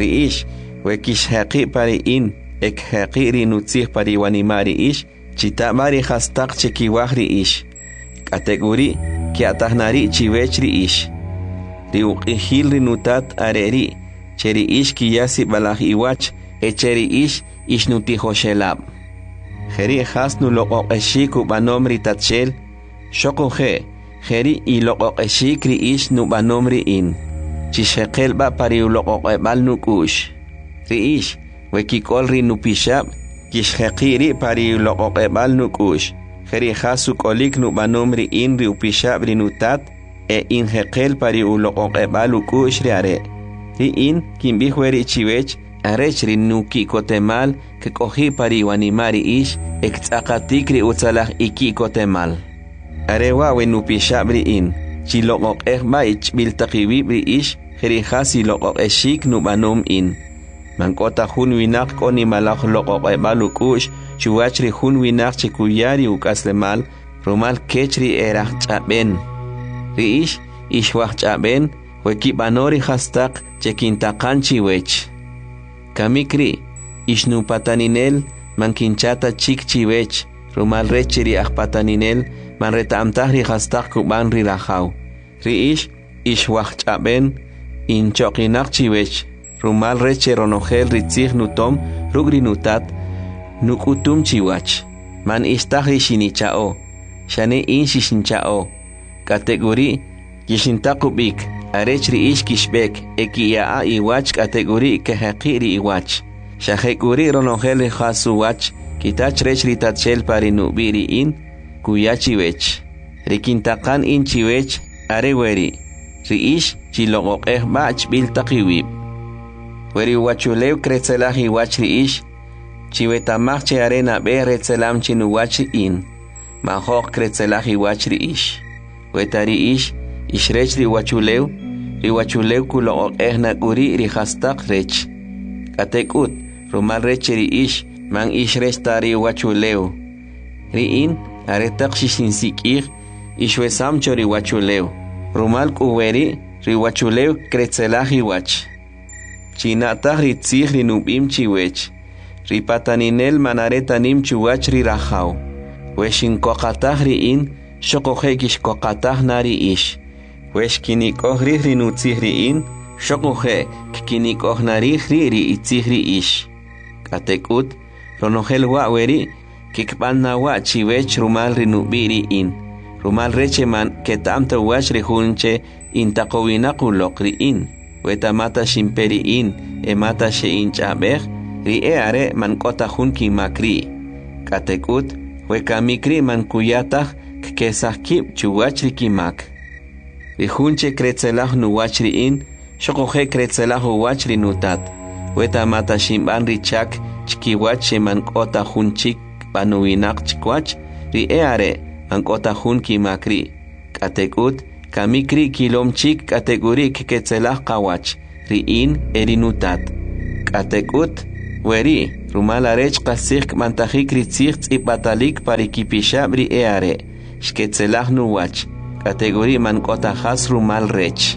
Ri ix, we kixjeqi' pa ri in, e kjeqi' ri nutzij pa ri wanima' ri ix, chita' b'a ri jastaq che kiwaj ri ix. K'atek'uri', kya'taj na ri' chiwech ri ix. Ri uq'ijil ri nutat are ri', che ri ix kiya sib'alaj iwach, e che ri ix ixnutijoxelab'. Jeri' jas nuloq'oq'exik ub'anom ri Tatxel, xoquje' jeri' iloq'oq'exik ri ix nub'anom ri in. Chixjeqel b'a pa ri uloq'oq'eb'al nuk'u'x. Ri ix, we kik'ol ri nupixab', kixjeqi' ri' pa ri uloq'oq'eb'al nuk'u'x. Jeri' jas uk'olik nub'anom ri in ri upixab' ri nutat, e injeqel pa ri uloq'oq'eb'al uk'u'x ri are'. Ri in kinb'ij weri' chiwech, arech ri nuki'kotemal kk'oji' pa ri wanima' ri ix, e ktz'aqatik ri utzalaj iki'kotemal. Are wa' we nupixab' ri in, chiloq'oq'ej b'a ichb'il taq iwib' ri ix, jeri' jas iloq'oq'exik nub'anom in. Man k'o ta jun winaq k'o nimalaj loq'oq'eb'al uk'u'x chuwach ri jun winaq che kuya ri uk'aslemal rumal kech ri erajch'ab'en. Ri ix, ix wajch'ab'en, we kib'ano ri jastaq che kintaqan chiwech. Kamik ri', ix nupataninel, man kincha ta chik chiwech, rumal rech che ri ajpataninel man reta'm taj ri jastaq kub'an ri rajaw. Ri ix, ix wajch'ab'en, inchoqinaq chiwech, rumal rech che ronojel ri tzij nutom ruk' ri nutat, nuk'utum chiwach. Man ix taj ri xinicha'o, xane in xixincha'o. K'atek'uri', kixintaq ub'ik, arech ri ix kixb'ek, e kiya'a iwach k'atek'uri' kejeqi' ri iwach. Xa jek'uri' ronojel ri jas uwach kita chrech ri Tatxel pa ri nub'i' ri in, kuya chiwech. Ri kintaqan in chiwech are weri', ri ix chiloq'oq'ej b'a chb'il taq iwib'. We ri uwachulew kretzelaj iwach ri ix, chiweta'maj che are nab'e retzelam chinuwach in, majo'q kretzelaj iwach ri ix. We ta ri ix, ix rech ri uwachulew, ri uwachulew kuloq'oq'ej nak'uri' ri jastaq rech. K'atek'ut, rumal rech che ri ix, man ix rech ta ri uwachulew. Ri in, aretaq xixinsik'ij, ixwesam cho ri uwachulew. Rumal k'u weri', ri uwachulew kretzelaj iwach. China'taj ri tzij ri nub'im chiwech, ri pataninel man are ta nim chuwach ri rajaw. We xinkoqataj ri in, xoquje' kixkoqataj na ri ix. We xkinik'oj rij ri nutzij ri in, xoquje' kkinik'oj na rij ri ri itzij ri ix. K'atek'ut, ronojel wa' weri' kikb'an na wa' chiwech rumal ri nub'i' ri in, rumal rech che man keta'm ta uwach ri jun che intaqowinaq uloq ri in. We ta mata xinpe ri in e mata xe'inch'ab'ej, ri e are' man k'o ta jun kimak ri'. K'atek'ut, we kamik ri' man kuya taj kkesaj kib' chuwach ri kimak. Ri jun che kretzelaj nuwach ri in, xoquje' kretzelaj uwach ri nutat. We ta mata xinb'an ri chak chkiwach che man k'o ta jun chik b'anowinaq chwach, ri e are' man k'o ta jun kimak ri'. K'atek'ut, Kamik ri' kilom chik k'atek'uri' kketzelaj qawach, ri in e ri nutat. K'atek'ut, weri' rumal arech qastzij kb'antajik ri tzij tz'ib'atalik pa ri kipixab' ri e'are', xketzelaj nuwach, k'atek'uri' man k'o ta jas rumal rech.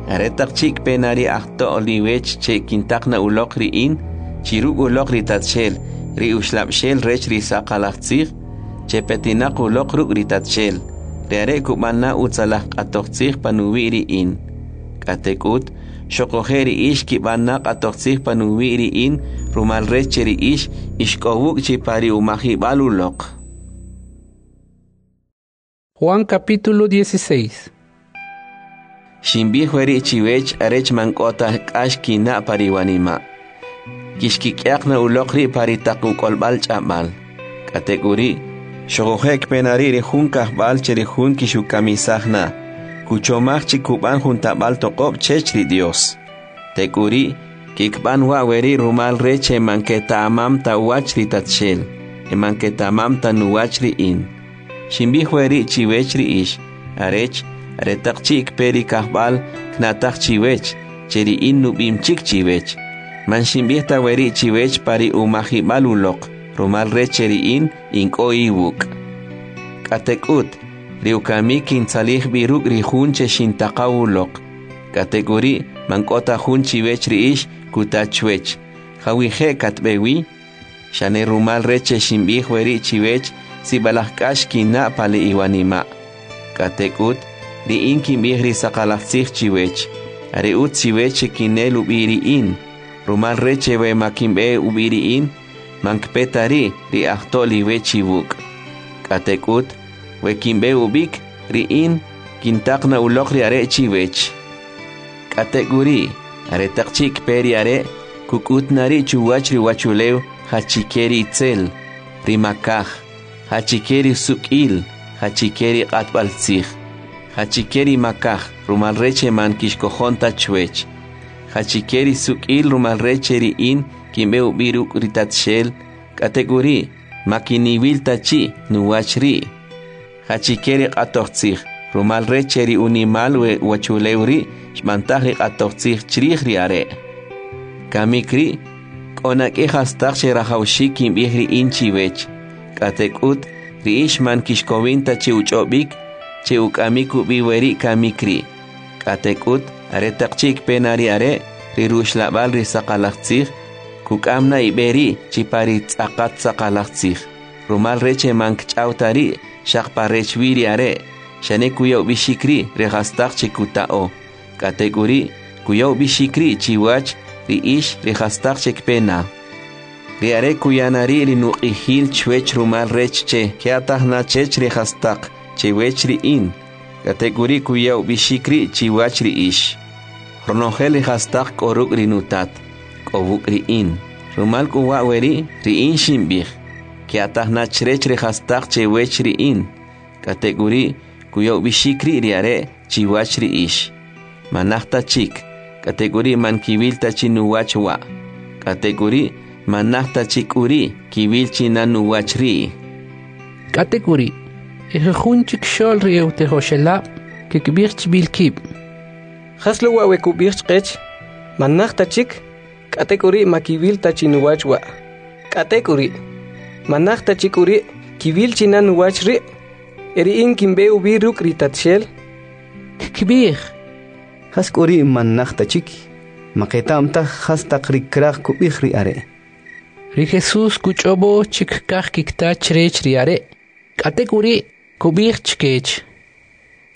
Aretaq chi' kpe na ri ajto'l iwech che kintaq na uloq ri in, chi ruk' uloq ri Tatxel, ri Uxlab'xel rech ri saqalaj tzij, che petinaq uloq ruk' ri Tatxel, ri are' kub'an na utzalaj q'atoj tzij panuwi' ri in. K'atek'ut, xoquje' ri ix kib'an na q'atoj tzij panuwi' ri in, rumal rech che ri ix ix k'o wuk' chi pa ri umajib'al uloq. Juan capítulo dieciséis. Xinb'ij weri' chiwech arech man k'o ta k'ax kina' pa ri wanima'. Kixkik'yaq na uloq ri' pa ri taq uk'olb'al ch'ab'al. K'atek'uri', xoquje' kpe na ri' ri jun kajb'al che ri jun kixukamisaj na, kuchomaj chi kub'an jun tab'al toq'ob' chech ri Dios. Tek'uri', kikb'an wa' weri' rumal rech che man keta'mam ta uwach ri Tatxel, e man keta'mam ta nuwach ri in. Xinb'ij weri' chiwech ri ix, arech, aretaq chi' kpe ri kajb'al kna'taj chiwech, che ri in nub'im chik chiwech. Man xinb'ij ta weri' chiwech pa ri umajib'al uloq, rumal rech che ri in in k'o iwuk'. K'atek'ut, ri ukamik kintzalij b'i ruk' ri jun che xintaqaw uloq. K'atek'uri' man k'o ta jun chiwech ri ix kuta chwech, jawije' katb'e wi? Xane rumal rech che xinb'ij weri' chiwech, sib'alaj k'ax kina' pa le iwanima'. K'atek'ut, ri in kinb'ij ri saqalaj tzij chiwech, are utz chiwech che kinel ub'i ri in, rumal rech che we ma kinb'e ub'i ri in, man kpe ta ri' ri ajto'l iwech iwuk'. K'atek'ut, we kinb'e ub'ik, ri in kintaq na uloq ri are' chiwech. K'atek'uri', aretaq chi' kpe ri are', kuk'ut na ri' chuwach ri uwachulew jachike ri itzel, ri makaj, jachike ri suk'il, jachike ri q'atb'al tzij, jachike ri makaj, rumal rech che man kixkojon ta chwech, jachike ri suk'il rumal rech che ri in kinb'e ub'i ruk' ri Tatxel, k'atek'uri' ma kiniwil ta chi' nuwach ri', jachike ri q'atoj tzij, rumal rech che ri unimal we uwachulew ri' xb'antaj ri q'atoj tzij chrij ri are'. Kamik ri' k'o na k'i jastaq che rajawxik kinb'ij ri in chiwech, k'atek'ut ri ix man kixkowin ta che uch'ob'ik, che uk'amik ub'i weri' kamik ri'. K'atek'ut, aretaq chi' kpe na ri are', ri ruxlab'al ri saqalaj tzij, kuk'am na ib'e ri' chi pa ri tz'aqat saqalaj tzij, rumal rech che man kch'aw ta ri' xaq pa rech wi ri are', xane kuya ub'ixik ri' ri jastaq che kuta'o. K'atek'uri' kuya ub'ixik ri' chiwach ri ix ri jastaq che kpe na. Ri are' kuya na ri' ri nuq'ijil chwech rumal rech che kya'taj na chech ri jastaq chewech ri in, k'atek'uri' kuya ub'ixik ri' chiwach ri ix. Ronojel ri jastaq k'o ruk' ri nutat, k'o wuk' ri in. Rumal k'u wa' weri' ri in xinb'ij, kya'taj na chrech ri jastaq chewech ri in, k'atek'uri' kuya ub'ixik ri' ri are' chiwach ri ix. Manaj ta chik, k'atek'uri' man kiwil ta chi nuwach wa', k'atek'uri' manaj ta chik k'uri' kiwil chi na nuwach ri'. K'atek'uri', ejujun chik xo'l ri e'utijoxelab' kikb'ij chb'il kib'. Jas lo wa' we kub'ij chqech, manaj ta chik, k'atek'uri' ma kiwil ta chi nuwach wa'. K'atek'uri', manaj ta chik k'uri' kiwil chi na nuwach ri', e ri in kinb'e ub'i ruk' ri Tatxel. Kkib'ij. Jas k'uri' man naj ta chik, ma qeta'm taj jas taq ri kraj kub'ij ri are'. Ri Jesús kuch'ob'o chi kkaj kikta chrech ri are', k'atek'uri' kub'ij chkech.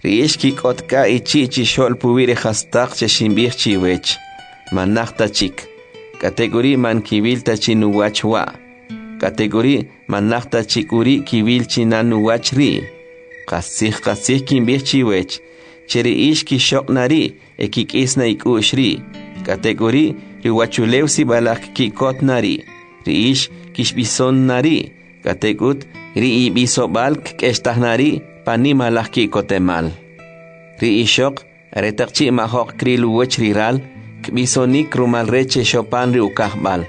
Ri ix kik'otka ichi' chixo'l puwi' ri jastaq che xinb'ij chiwech, man naj ta chik, k'atek'uri' man kiwil ta chi nuwach wa', k'atek'uri' man naj ta chik k'uri' kiwil chi na nuwach ri'. Qastzij qastzij kinb'ij chiwech, che ri ix kixoq' na ri' e kik'is na ik'u'x ri', k'atek'uri' ri uwachulew sib'alaj kki'kot na ri', ri ix kixb'ison na ri', k'atek'ut ri ib'isob'al kk'extaj na ri' pa nimalaj ki'kotemal. Ri ixoq aretaq chi' majoq kril uwach ri ral, kb'isonik rumal rech che xopan ri ukajb'al.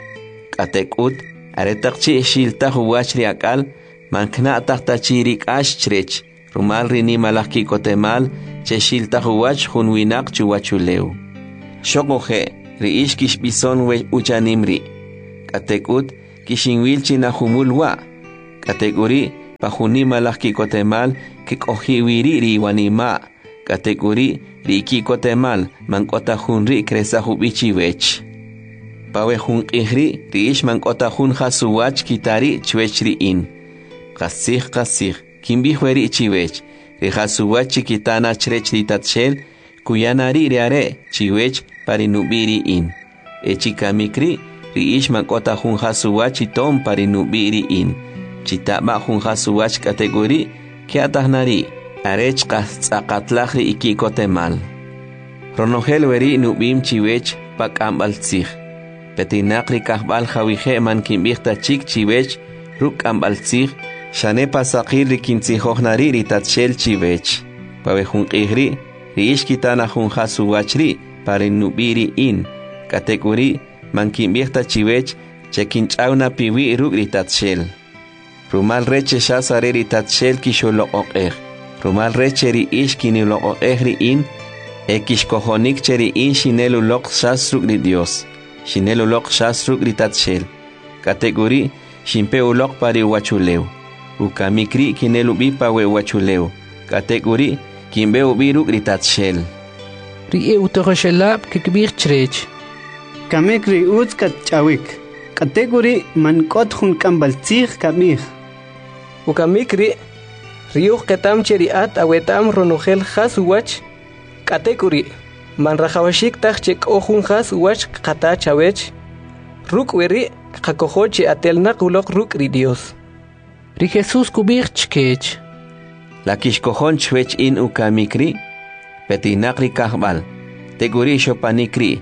K'atek'ut, aretaq chi' xiltaj uwach ri ak'al, man kna'taj ta chi ri k'ax chrech, rumal ri nimalaj ki'kotemal che xiltaj uwach jun winaq chuwachulew. Xoquje', ri ix kixb'ison we uchanim ri'. K'atek'ut, kixinwil chi na jumul wa'. K'atek'uri', pa jun nimalaj ki'kotemal kk'oji' wi ri' ri iwanima'. K'atek'uri', ri iki'kotemal man k'o ta jun ri' kresaj ub'i chiwech. Pa we jun q'ij ri', ri ix man k'o ta jun jas uwach kita ri' chwech ri in. Qastzij, qastzij, kinb'ij weri' chiwech, ri jas uwach chi kita na chrech ri Tatxel, kuya na ri' ri are' chiwech pa ri nub'i' ri in. E chi kamik ri', ri ix man k'o ta jun jas uwach itom pa ri nub'i' ri in. Chita b'a jun jas uwach k'atek'uri', kya'taj na ri', arech qas tz'aqatlaj ri iki'kotemal. Ronojel weri' nub'im chiwech pa k'amb'al tzij. Petinaq ri kajb'al jawije' man kinb'ij ta chik chiwech ruk' k'amb'al tzij, xane pa saqil ri kintzijoj na ri' ri Tatxel chiwech. Pa we jun q'ij ri', ri ix kita na jun jas uwach ri' pa ri nub'i' ri in. K'atek'uri', man kinb'ij ta chiwech che kinch'aw na piwi' ruk' ri Tatxel. Rumal rech che xas are ri Tatxel kixuloq'oq'ej. Rumal rech che ri ix kiniloq'oq'ej ri in, e kixkojonik che ri in xinel uloq xas ruk' ri Dios. Xinel uloq xas ruk' ri Tatxel. K'atek'uri', xinpe uloq pa ri uwachulew. Ukamik ri' kinel ub'i pa we uwachulew. K'atek'uri', kinb'e ub'i ruk' ri Tatxel. Ri e'utijoxelab' kkib'ij chrech: Kamik ri utz katch'awik, k'atek'uri' man k'ot jun k'amb'al tzij kab'ij. Ukamik ri', ri uj qetam che ri at aweta'm ronojel jas uwach, k'atek'uri', man rajawaxik taj che k'o jun jas uwach kqata chawech. Ruk' weri' kqakojo che atelnaq uloq ruk' ri Dios. Ri Jesús kub'ij chkech: La kixkojon chwech in ukamik ri'? Petinaq ri kajb'al, tek'uri' xopanik ri',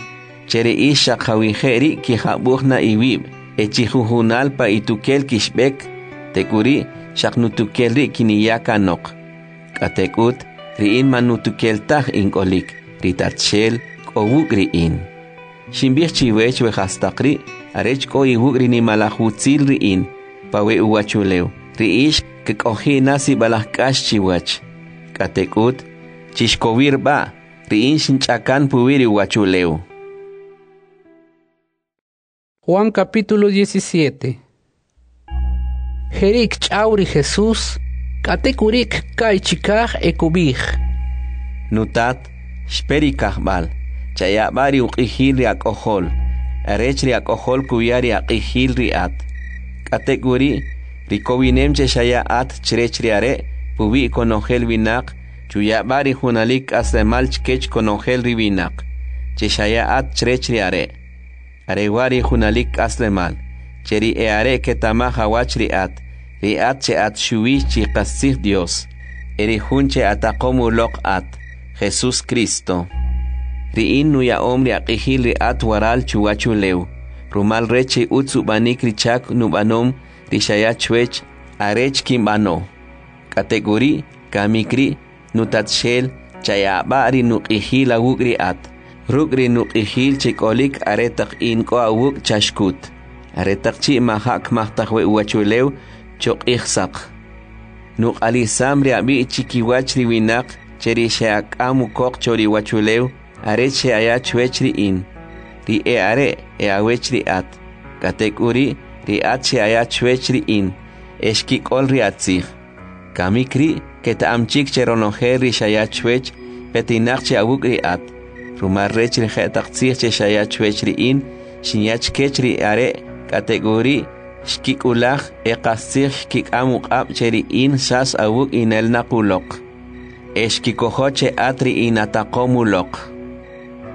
che ri ix xaq jawije' ri' kijab'uj na iwib', e chijujunal pa itukel kixb'ek, tek'uri' xaq nutukel ri' kiniya kanoq. K'atek'ut, ri in man nutukel taj in k'olik, ri Tatxel k'o wuk' ri in. Xinb'ij chiwech we jastaq ri', arech k'o iwuk' ri nimalaj utzil ri in, pa we uwachulew, ri ix kk'oji' na sib'alaj k'ax chiwach. K'atek'ut, chixkowir b'a', ri in xinch'akan puwi' ri uwachulew. Juan capítulo diecisiete. Jeri' kch'aw ri Jesús, k'atek'uri' kka'y chikaj e kub'ij: Nutat, xpe ri kajb'al, chaya b'a ri uq'ijil ri ak'ojol, arech ri ak'ojol kuya ri aq'ijil ri at. K'atek'uri', ri kowinem che xaya at chrech ri are' puwi' konojel winaq, chuya b'a ri junalik k'aslemal chkech konojel ri winaq, che xaya at chrech ri are'. Are wa' ri junalik k'aslemal, che ri e'are' ketamaj awach ri at, ri at che at xuwi chi qastzij Dios, e ri jun che ataqom uloq at, Jesús Cristo. Ri in nuya'om ri aq'ijil ri at waral chuwachulew, rumal rech che utz ub'anik ri chak nub'anom ri xaya chwech arech kinb'ano. K'atek'uri', kamik ri', nutatxel, chaya b'a ri nuq'ijil awuk' ri at, ruk' ri nuq'ijil che k'olik aretaq in k'o awuk' chaxkut, aretaq chi' maja' kmajtaj we uwachulew choq'ij saq. Nuq'alisam ri ab'i' chikiwach ri winaq che ri xe'ak'am ukoq cho ri uwachulew, arech xe'aya chwech ri in, ri e'are' e awech ri at, k'atek'uri' ri at xe'aya chwech ri in, e xkik'ol ri atzij. Kamik ri' keta'am chik che ronojel ri xaya chwech petinaq che awuk' ri at, rumal rech ri je'taq tzij che xaya chwech ri in, xinya chkech ri are' k'atek'uri' xkik'ulaj e qastzij xkik'am uq'ab' che ri in xas awuk' inelnaq uloq. E xkikojo che at ri inataqom uloq.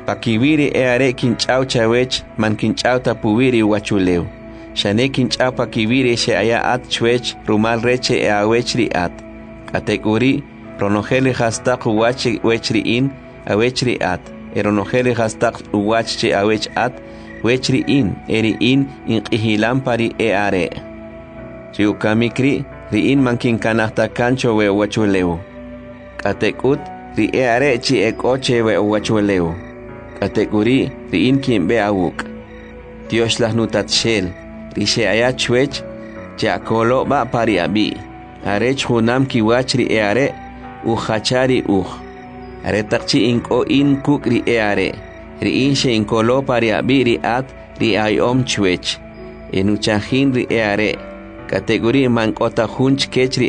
Pakiwi' ri e'are' kinch'aw chawech man kinch'aw ta puwi' ri uwachulew, xane kinch'aw pakiwi' ri xe'aya at chwech rumal rech che e'awech ri at. K'atek'uri', ronojel ri jastaq uwach wech ri in, awech ri at, e ronojel ri jastaq uwach che awech at, wech ri in, e ri in inq'ijilam pa ri e'are'. Ri ukamik ri', ri in man kinkanaj ta kan cho we uwachulew. K'atek'ut, ri e'are' chi ek'o che we uwachulew. K'atek'uri', ri in kinb'e awuk'. Tyoxlaj nutatxel, ri xe'aya chwech, che'akolo b'a pa ri ab'i', arech junam kiwach ri e'are' ujacha ri uj. Aretaq chi' in k'o in kuk' ri e'are', ri in xe'inkolo pa ri ab'i' ri at ri aya'om chwech. Enuchajin ri e'are', k'atek'uri' man k'o ta jun chkech ri